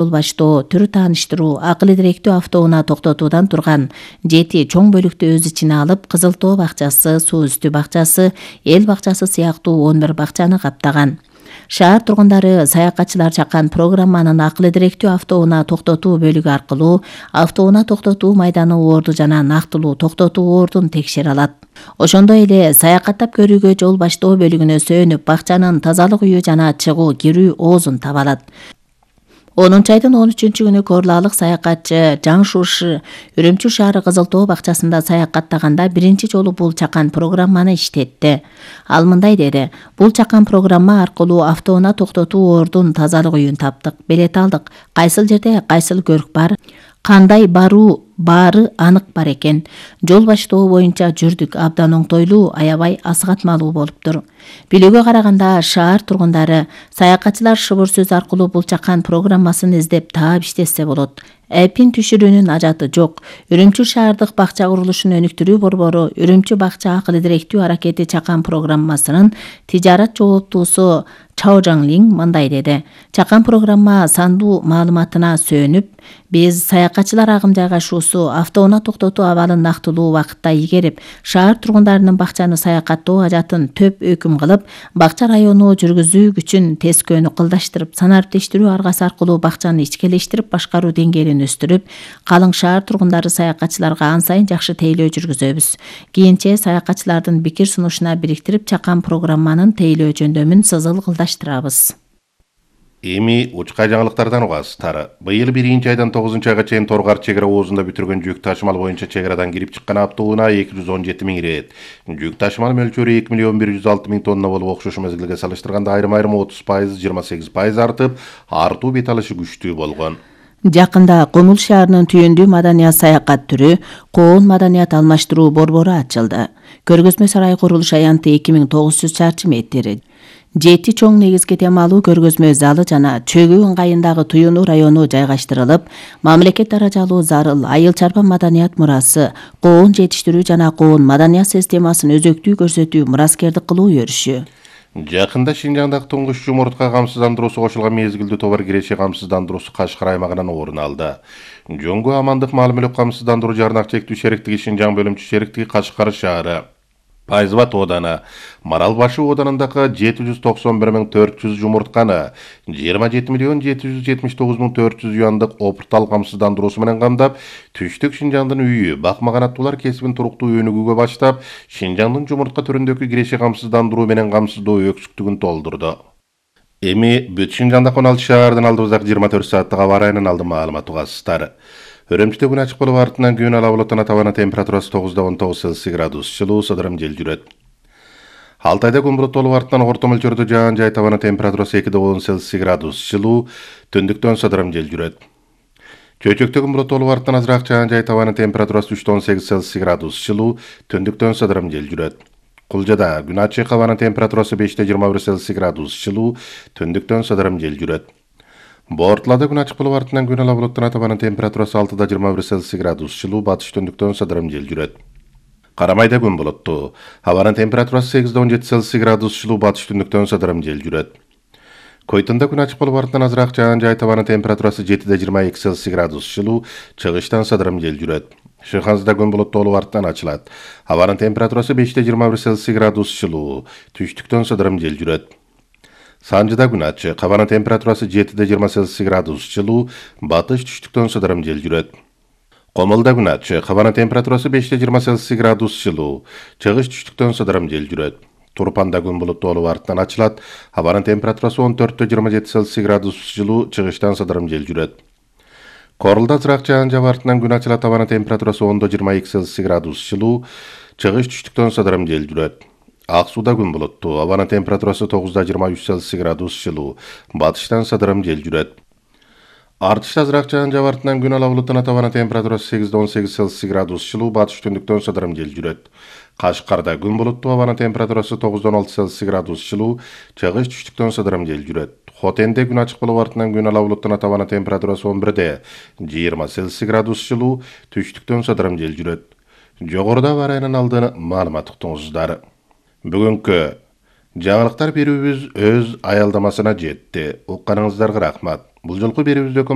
Жол баштоо, түрү тааныштыруу, акыл идиректүү автоунаа токтотуудан турган 7 чоң бөлүктү өз ичине алып, Кызыл Тоо бакчасы, Суу үстү бакчасы, Эл бакчасы сыяктуу 11 бакчаны каптаган. Шаар тургундары саякатчылар чаккан программанын акыл идиректүү автоунаа токтотуу бөлүгү аркылуу автоунаа токтотуу майданы орду жана нактылуу токтотуу ордун текшере алат. Ошондой эле саякаттап көрүүгө жол баштоо бөлүгүнө сөөнүп, бакчанын тазалык үйү жана чыгуу кирүү оозун таба алат. 10 айдын 13-күнү Корлаалык саякатчы Жаң Шушы Үрүмчү шаары Кызыл Тоо бакчасында саякаттаганда биринчи жолу бул чакан программаны иштетти. Ал мындай деди: "Бул чакан программа аркылуу автоунаа токтотуу ордун тазалык үйүн таптык, белет алдык. Кайсыл жерде кайсыл көрк бар, кандай баруу баары анык бар экен. Жол баштоо боюнча жүрдүк, абдан оңтойлуу, аябай асыгатмалуу болуптур." Билүүгө караганда, шаар тургундары саякатчылар шыбыр сөз аркылуу бул чакан программасын издеп таап иштесе болот. Эпин түшүрүүнүн ажаты жок. Үрүмчү шаардык бакча курулушун өнүктүрүү борбору Үрүмчү бакча акыл идиректүү аракети чакан программасынын тижарат жооптуусу Чао Жаңлин мындай деди: "Чакан программа сандуу маалыматына сөөнүп, биз саякатчылар агым жайгашуусу, автоунаа токтотуу абалын нактылуу убакытта игерип, шаар тургундарынын бакчаны саякаттоо ажатын төп өкүм кылып, бакча району жүргүзүү күчүн тескөөнү кылдаштырып, санариптештирүү аргасы аркылуу бакчаны ичкелештирип башкаруу деңгээлин өстүрүп, калың шаар тургундары саякатчыларга ан сайын жакшы тейлөө жүргүзөбүз. Кийинче саякатчылардын пикир сунушуна бириктирип, чакан программанын тейлөө жөндөмүн сызыл кылдаштырабыз." Эми учкай жаңылыктардан угасыздар. Быйыл 1-айдан 9-айга чейин Торгар чек ара оозунда бүтүргөн жүк ташымал боюнча чек арадан кирип чыккан автоунаа 217 миң ирет. Жүк ташымал мөлчөрү 2 миллион 106 миң тонна болуп, окшош мезгилге салыштырганда айрым 30%, 28% артып, артуу бет алышы күчтүү болгон. Жакында Комул шаарынын түйүндүү маданият саякат түрү коон маданият алмаштыруу борбору ачылды. Көргөзмө сарай курулуш аянты 2900 чарчы метр. 7 чоң негизги темалуу көргөзмө залы жана Чөгүү ыңгайындагы Туюнуу району жайгаштырылып, мамлекет даражалуу зарыл айыл чарба маданият мурасы, коон жетиштирүү жана коон маданият системасын өзөктүү көрсөтүү, мураскердик кылуу өрүшү. Жакында Шинжаңдагы туңгуч жумуртка камсыздандыруусу кошулган мезгилдүү товар киреши камсыздандыруусу Кашкар аймагынан орун алды. Жоңго амандык маал мүлк камсыздандыруу жарнак чектүү шериктиги Шинжаң бөлүмчү шериктиги Кашкар шаары, Пайзбат ооданы, Марал башы оодарындагы 791.400 жумуртканы 27.779.400 юандык опыртал камсыздандыруусу менен камдап, түштүк Шинжаңдын үйү, бакмаганаттуулар кесибин туруктуу өнүгүүгө баштап, Шинжаңдын жумуртка түрүндөгү киреши камсыздандыруу менен камсыздоо өксүктүгүн толтурду. Эми бүт Шинжаңда 16 шаардын алдыбыздагы 24 сааттык аба ырайынын алды маалымат угасыздар. Үрүмчүдө күн ачык болуп, артынан күн ала булуттан табана температурасы 9-19 Цельсий градус жылуу, сыдырым жел жүрөт. Алтайда күн булуттуу болуп, артынан орто мөлчөрдө жаан жай табана температурасы 2-10 Цельсий градус жылуу, түндүктөн сыдырым жел жүрөт. Чөйчөктө күн булуттуу болуп, артынан азыраак жаан жай табана температурасы 3-18 Цельсий градус жылуу, түндүктөн сыдырым жел жүрөт. Кулжада күн ачык, табана температурасы 5-21 Цельсий градус жылуу, түндүктөн сыдырым жел жүрөт. Бортлада күн ачык болуп, артынан күн ала булуттан табана температурасы 6-21 Цельсий градус жылуу, батыш түндүктөн сыдырым жел жүрөт. Карамайда күн булуттуу, абанын температурасы 8-17 Цельсий градус жылуу, батыш түндүктөн сыдырым жел жүрөт. Койтунда күн ачык болуп, артынан азыраак жаан жай табана температурасы 7-22 Цельсий градус жылуу, чыгыштан сыдырым жел жүрөт. Шыхансда күн булуттуу болуп, артынан ачылат. Абанын температурасы 5-21 Цельсий градус жылуу, түштүктөн сыдырым жел жүрөт. Санжыда күн ачык, абанын температурасы 7-20 Цельсий градус жылуу, батыш түштүктөн сыдырым жел жүрөт. Комулда күн ачык, абанын температурасы 5-20 Цельсий градус жылуу, чыгыш түштүктөн сыдырым жел жүрөт. Турпанда күн булуттуу болуп, артынан ачылат. Абанын температурасы 14-27 Цельсий градус жылуу, чыгыштан сыдырым жел жүрөт. Корулда азыраак жаан жаап, артынан күн ачылат. Абанын температурасы 10-22 Цельсий градус жылуу, чыгыш түштүктөн сыдырым жел жүрөт. Ак сууда күн булуттуу, абанын температурасы 9-23 Цельсий градус жылуу, батыштан сыдырым жел жүрөт. Артышта азыраак жаан жаап, артынан күн ала булуттан абанын температурасы 8-18 Цельсий градус жылуу, батыш түндүктөн сыдырым жел жүрөт. Кашкарда күн булуттуу, абанын температурасы 9-16 Цельсий градус жылуу, чыгыш түштүктөн сыдырым жел жүрөт. Хотенде күн ачык болуп, артынан күн ала булуттан абанын температурасы 11-20 Цельсий градус жылуу, түштүктөн сыдырым жел жүрөт. Жогоруда аба ырайынын алды маалымат уктуңуздар. Бүгүнкү Жаңылыктар берүүбүз өз аялдамасына жетти. Укканыңыздарга рахмат. Бул жолку берүүбүздөгү